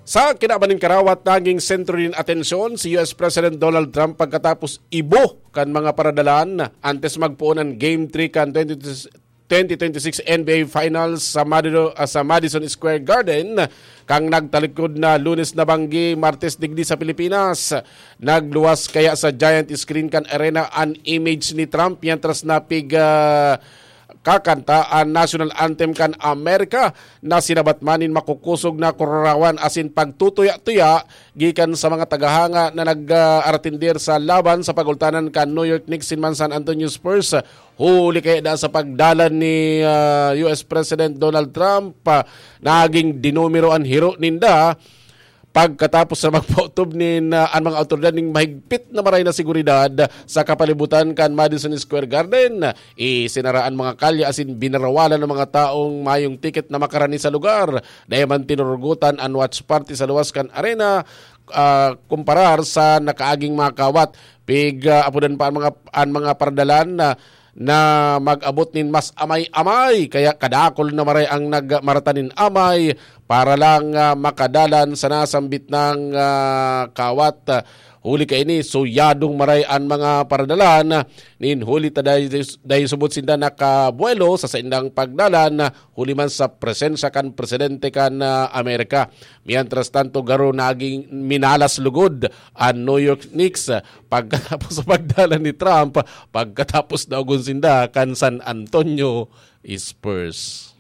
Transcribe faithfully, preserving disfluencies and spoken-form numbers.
Sa kinaban nin karawat, naging sentro nin atensyon si U S President Donald Trump pagkatapos ibo kan mga paradalan antes magpoon an Game three kan twenty twenty-six N B A Finals sa Madison, ah, sa Madison Square Garden, kan nagtalikod na Lunes na banggi, Martes digdi sa Pilipinas. Nagluwas kaya sa giant screen kan arena an image ni Trump, mientras napig, ah, kakanta an national anthem kan Amerika, na sinabat man nin makukusog na kururawan asin pagtutuya-tuya gikan sa mga tagahanga na nag, ah, aratindir sa laban sa pagultanan kan New York Knicks asin man San Antonio Spurs. Huli kaya da sa pagdalan ni, ah, U S President Donald Trump, ah, naging dinumero an hiro ninda pagkatapos na magpaotob nin, ah, an mga awtoridad ning mahigpit na maray na seguridad sa kapalibutan kan Madison Square Garden. Isinara an mga kalye asin binarawalan an mga taong mayong tiket na makarani sa lugar. Dai man tinurugotan an watch party sa luwas kan arena, ah, kumparar sa nakaaging mga kawat. Pig, ah, apodan pa an mga, an mga paradalan na, na mag-abot nin mas amay-amay. Kaya kadakol na maray ang nagmarata nin amay para lang, ah, makadalan sa nasambit nang, ah, kawat. Huli kaini, suyadong maray an mga paradalan. Nin huli ta dai, dai subot sinda nakabuelo sa saindang pagdalan, huli man sa presensya kan presidente kan, ah, Amerika. Mientras tanto, garo naging minalas lugod an New York Knicks, ah, pagkatapos sa pagdalan ni Trump, pagkatapos na ugon sinda kan San Antonio Spurs.